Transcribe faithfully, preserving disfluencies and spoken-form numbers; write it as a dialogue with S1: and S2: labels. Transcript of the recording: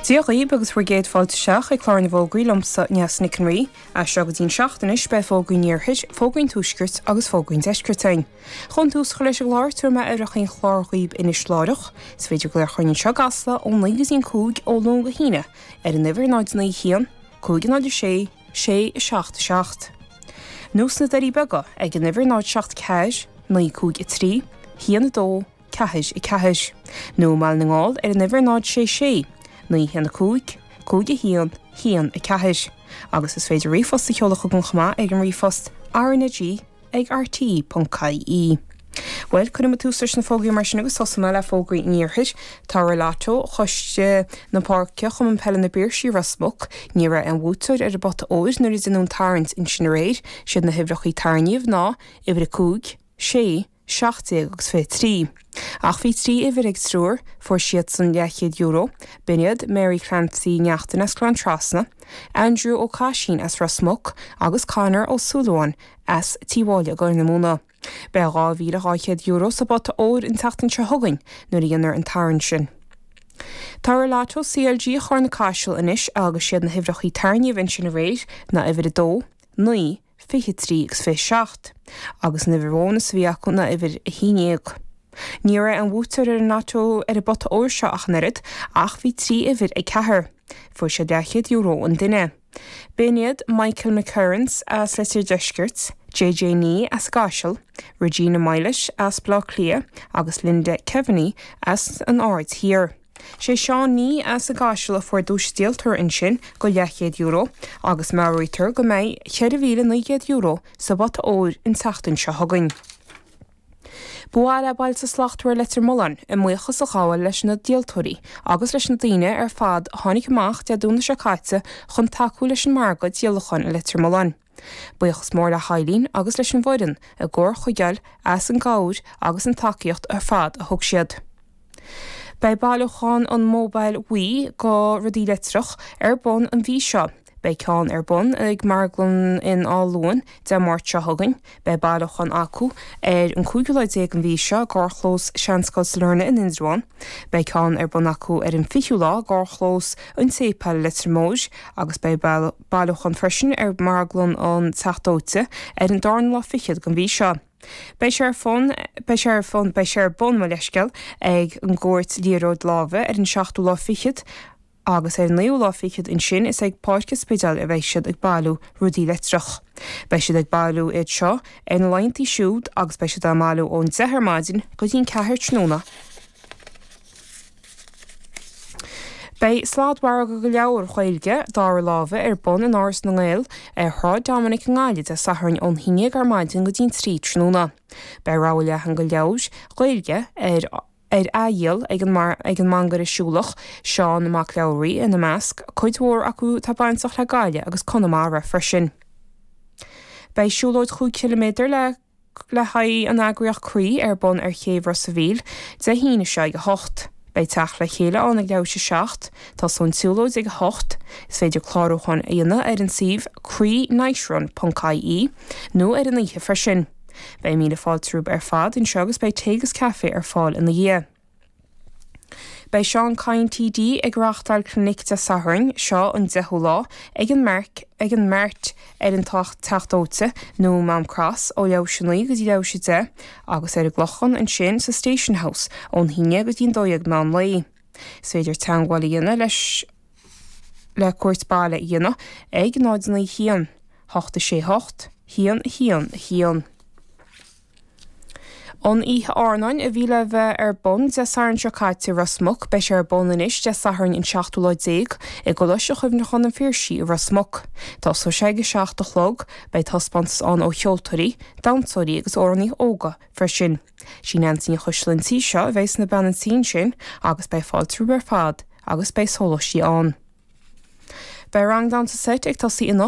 S1: Dia dhaoibh agus bhur gcéad fáilte isteach ag clár na bhfógraí liomsa Neasa Nic an Rí, as seo go dtí'n seacht anois beidh fógraí an iarthair, fógraí an tuaiscirt agus fógraí an deiscirt againn. Chun tús a chur leis an gclár tabharfaidh mé uimhreacha an chláir dhaoibh anois láithreach, is féidir glaoch orainn anseo i gCasla ó naoi go dtí an cúig ó Luan go hAoine ar an uimhir náid naoi haon, cúig náid a sé, sé a seacht a seacht. Nó sna Doirí Beaga ag an uimhir náid seacht ceathair, naoi cúig a trí, haon a dó, ceathair a ceathair. Nó i mBaile na nGall ar an uimhir náid sé sé, naoi haon a cúig, cúig a haon, haon a ceathair. Agus is féidir ríomhphost a sheoladh chugainn chomh maith ag an ríomhphost RnaG ag RTE ponc ie. Bhuel, cuirfidh mé tús leis na fógraí mar sin agus tosóidh mé le fógraí an iarthair. Toradh Lotto Choiste na Páirce Chumann Peile na bPiarsaigh Ros Muc, ní raibh aon bhuaiteoir ar an bpota óir nuair a deineadh an tarraingt ansin aréir, siad na huimhreacha tarraingíodh ná uimhir a cúig, sé, seacht déag agus fiche trí. Ach bhí trí uimhir ag triúr, fuair siadsan leathchéad euro, b'in iad Mary Clancy Neachtain as Gleann Trasna, Andrew Ó Caisín as Ros Muc agus Conor Ó Súilleabháin as Tí Mháille i gCorr na Móna. Beidh dhá mhíle dhá chéad euro sa bpota óir an tseachtain seo chugainn nuair a dhéanfar an tarraingt sin. Toradh Lotto CLG Charna Caiseal anois agus siad na huimhreacha tarraingíodh ansin aréir ná uimhir a dó, naoi, fiche trí agus fiche seacht, agus an uimhir bhónas a bhí acu ná uimhir a haon déag. Ní raibh aon bhuaiteoir ar an lotto ar an bpota óir seo ach an oiread, ach bhí trí uimhir ag ceathrar. Fuair siad leathchéad euro an duine. B'in iad Michael McCurrans as Leitir Deiscirt, JJ Nee as an gCaiseal, Regina Milet as Baile Átha Cliath agus Linda Keaveney as an Aird Thiar. Sé Seán Nee as an gCaiseal a fuair duais díoltóra ansin go leathchéad euro agus meabhraítear go mbeidh ceithre mhíle naoi gcéad euro sa bpota óir an tseachtain seo chugainn. Ba mhaith le Bailte Slachtmhara Leitir Mealláin a mbuíochas a ghabháil leis na díoltóirí agus leis na daoine ar fad a tháinig amach Dé Domhnaigh seo caite chun tacú leis an margadh díolacháin i Leitir Mealláin. Buíochas mór le hEilín agus leis an bhfoireann i gComhar Chuigéil as an gcabhair agus an tacaíocht ar fad a thug siad. Beidh bailiúchán an Mobile Bhuí go rudaí leictreach ar bun an mhí seo. Beidh ceann ar bun ag Marglann in Áth Luain Dé Máirt seo chugainn. Beidh bailiúchán acu ar an cúigiú lá déag an mhí seo i gcarrchlós Seanscoil Sailearna in Indreabhán. Beidh ceann ar bun acu ar an fichiú lá i gcarrchlós an tSéipéil Leitir Móir agus beidh bailiúchán freisin ar Marglann an Teach Dóite ar an darna lá fichead den mhí seo. Beidh sé ar fón beidh sé ar fón beidh sé ar bun mo leithscéal ag an gcúirt liathróid láimhe ar an seachtú lá fichead agus ar an naoú lá fichead ansin is ag Páirc an Spidéil a bheidh siad ag bailiú rudaí leictreach. Beidh siad ag bailiú iad seo ar na laethanta siúd agus beidh siad á mbailiú ón deich ar maidin go dtí an ceathair tráthnóna. Beidh sladmhargadh go leabhair Ghaeilge dara láimhe ar bun in Áras na nGael ar Shráid Dominic i nGaillimh Dé Sathairn ón haon déag ar maidin go dtí an trí tráthnóna. Beidh rogha leathan go leabhair Ghaeilge ar ar athdhíol ag an ag an mangaire siúlach Seán Mac Labhraí ina measc, cuid mhór acu atá bainteach le Gaillimh agus Conamara freisin. Beidh siúlóid chúig chiliméadar le le haghaidh an eagraíocht Croí ar bun ar chéibh Ros a' Mhíl Dé hAoine seo ag a hocht. Beidh teacht le chéile ann ag leathuair tar éis a seacht, tosóidh an tsiúlóid ag a hocht. Is féidir clárúchán a dhéanamh ar an suíomh croínightrun ponc ie nó ar an oíche freisin. Beidh míle fáilte romhaibh ar fad anseo agus beidh tae agus caife ar fáil ina dhiaidh. Beidh Seán Kyne TD ag reáchtáil clinic Dé Sathairn seo an deichiú lá ag an Merc ag an Mart ar an Teach Dóite nó Mám Cross ó leathuair tar éis a naoi go dtí leathuair tar éis a deich agus ar an gClochán ansin sa Station House ón haon déag go dtí an dó dhéag meán lae. Is féidir teagmháil a dhéanamh leis le cuairt baile a dhéanamh ag náid naoi haon, hocht a sé hocht, haon a haon a haon. An oíche airneáin a bhí le bheith ar bun Dé Sathairn seo caite i Ros Muc, beidh sé ar bun anois Dé Sathairn an seachtú lá déag i gColáiste Chuimhneacháin an Phiarsaigh i Ros Muc. Tosóidh sé ag a seacht a chlog, beidh taispeántas ann ó cheoltóirí, damhsóirí agus amhránaithe óga freisin. Sí Neansaí Ní Choisdealbha an tí seo a bheidh sna bean an tí ansin agus beidh fáilte romhaibh ar fad agus beidh sóláistí ann. Beidh rang damhsa seit ag tosaí anocht